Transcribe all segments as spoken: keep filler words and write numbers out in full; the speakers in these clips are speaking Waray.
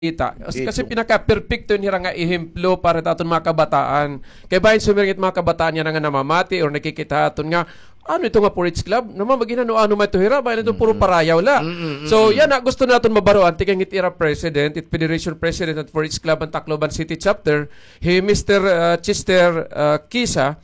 Kita. Kasi, kasi pinaka-perpekto ini hira nga ehemplo para hit aton mga kabataan. Kay bahin sumiring it mga kabataan yana nga namamati or nakikita ha aton nga, ano ito nga four H club? Naman maghinano-ano man ito hira, bahin ito puro parayaw la. So, yana, gusto naton mabaroan, tikang it ira president, it federation president han four H club han Tacloban City Chapter, hi Mister, ah, Chester, ah, Kisa,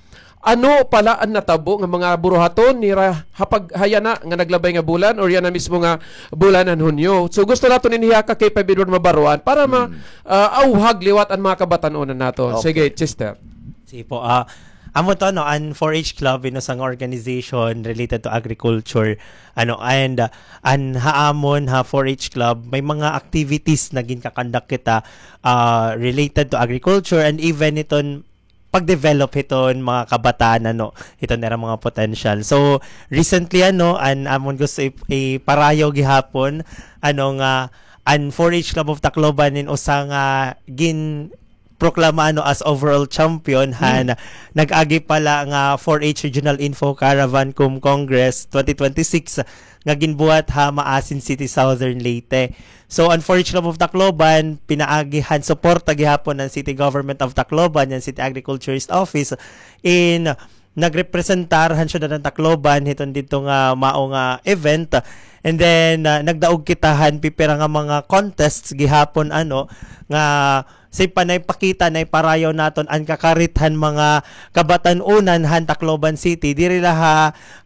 ano pa la an natabo nga mga buruhaton nira ha pag-, ha yana nga naglabay nga bulan or yana mismo nga bulan han Hunyo. So, gusto naton ini ha ka K five Edward mabaroan para ma-, ah, awhag liwat an mga kabatan-onan naton. Sige, Chester. Sige po, ah, amo to, no, an four H Club, usa nga organization related to agriculture, ano, and, ah, an ha amon ha four H Club, may mga activities na ginka-conduct kita, ah, related to agriculture and even iton pag-develop hiton mga kabataan, ano, hiton ira mga potential. So, recently, ano, an amon gusto ip-, iparayaw gihapon, ano, nga an four H Club of Tacloban in usa nga ginproklama, ano, as overall champion han nag-agi pa la nga four H Regional Info Caravan cum Congress twenty twenty-six nga ginbuhat ha Maasin City, Southern Leyte. So, an four H Club of Tacloban, pinaagi han suporta gihapon han City Government of Tacloban, han City Agriculturist Office, in nagrepresentar han syudad han Tacloban hiton didto nga mao nga event. And then, ah, nagdaog kita han pipira nga mga contests gihapon, ano, nga Sa panay pakita, nay parayaw naton an kakarit han mga kabatan-onan han Tacloban City, diri la ha,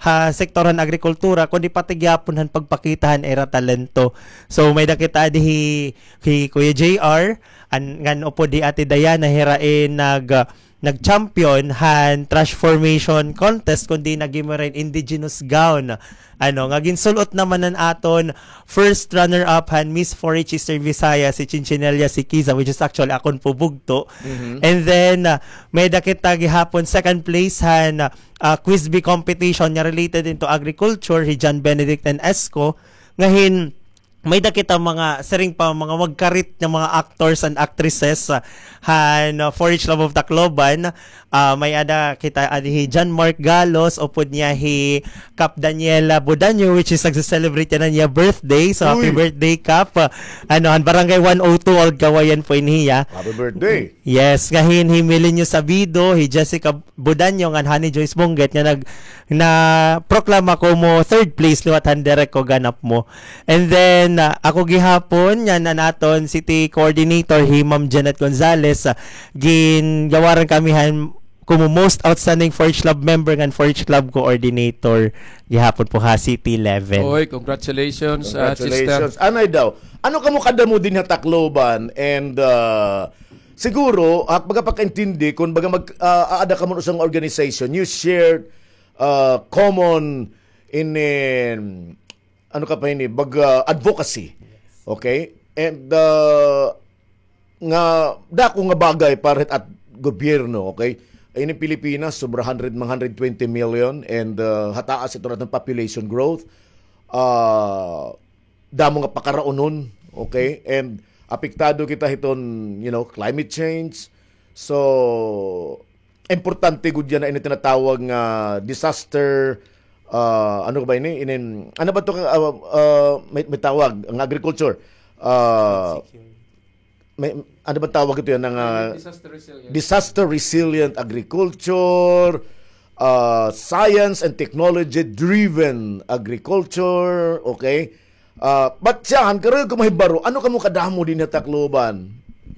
ha sektor han agrikultura, kundi pati gihapon han pagpakita han ira talento. So, may-ada kita adi hi, hi Kuya J R, an, ngan upod hi Ate Diana, hira in nag, nag-champion han trash formation contest, kundi nag-imo hira in indigenous gown. Ano, nga ginsul-ot naman an aton first runner-up han Miss four H Eastern Visayas, si Chinchinella Sikiza, which is actually akon po bugto. Mhm. And then, ah, may-ada kita gihapon second place han, ah, quiz bee competition nga related into agriculture, hi John Benedict and Esco. Nga hin, may-ada kita mga, siring pa, mga magkarit nga mga actors and actresses, ah, han, ah, four H Club of Tacloban. Ah, may-ada kita, ah, hi John Mark Galos, upod niya hi Kap Daniela Budaño, which is nagse-celebrate yana han iya birthday. So, happy birthday, Kap. Ah, ano, han Barangay one oh two Old Kawayan po ini hiya. Happy birthday. Yes, nga hin hi Milenio Sabido, hi Jessica Budaño, ngan Honey Joyce Bungget, nga nag-, naproklama komo third place liwat han diri ko ganap mo. And then, ah, ako gihapon, ngan an aton city coordinator, hi Ma'am Janet Gonzalez, ah, gingawaran kami han komo most outstanding four H Club member ngan four H Club coordinator gihapon po ha city level. Oy, congratulations, ah, Chester. Congratulations. Anay daw. Ano kamo kadamo dinhi ha Tacloban? And, ah, siguro, ha pagkapakaintindi, kon baga mag-, ah, aada kamo usa nga organization, you share, ah, common in, in, ano ka pa ini, baga, advocacy. Yes. Okay? And, ah, nga dako nga bagay para hit at gobyerno, okay? Ini Pilipinas, sobra hundred, mga hundred twenty million, and, ah, hataas ito naton population growth. Ah, damo nga pakaraonon, okay? And apektado kita hiton, you know, climate change. So, importante gud yana ini tinatawag nga disaster, ah, ano ba ini? Inin, ano ba to, ah, ah, may, may tawag, ang agriculture? Ah, may, ano ba tawag ito yana nga, ah, disaster resilient. Disaster resilient agriculture, ah, science and technology driven agriculture, okay? Ah, but siyahan, karuyag ko mahibaro, ano kamo kadamo dinhi ha Tacloban?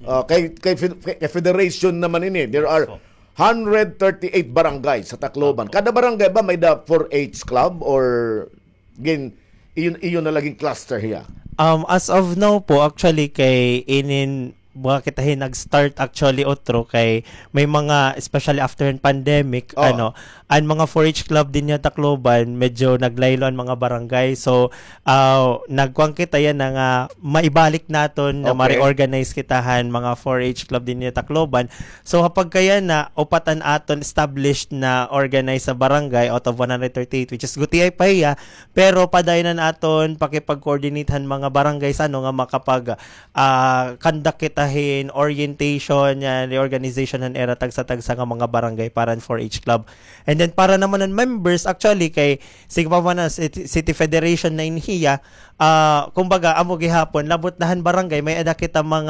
Ah, kay, kay fed-, kay, kay federation naman ini. There are hundred thirty-eight barangays sa Tacloban. Kada barangay ba may-ada four H club or gin-, iyon, iyon na la gin-cluster hiya? Um, as of now po, actually, kay inin, mga kita hin nag-start actually otro kay may mga, especially after hin pandemic, ano, an mga four H club dinhi ha Tacloban, medyo naglaylo an mga barangay. So, ah, nagkuan kita yana nga maibalik naton na ma-reorganize kita han mga four H club dinhi ha Tacloban. So, ha pagkayana, upat an aton established na organized sa barangay out of one hundred thirty-eight, which is gutiay pa hiya, pero padayon an aton pakipag-coordinate han mga barangay sa, ano, nga makapag, ah, conduct kita hin orientation, yan, reorganization han ira tagsa-tagsa nga mga barangay para han four H club. And then para naman han members, actually, kay sige pa man na City, City Federation na in hiya, ah, kumbaga, amo gihapon, labot na han barangay, may-ada kita mga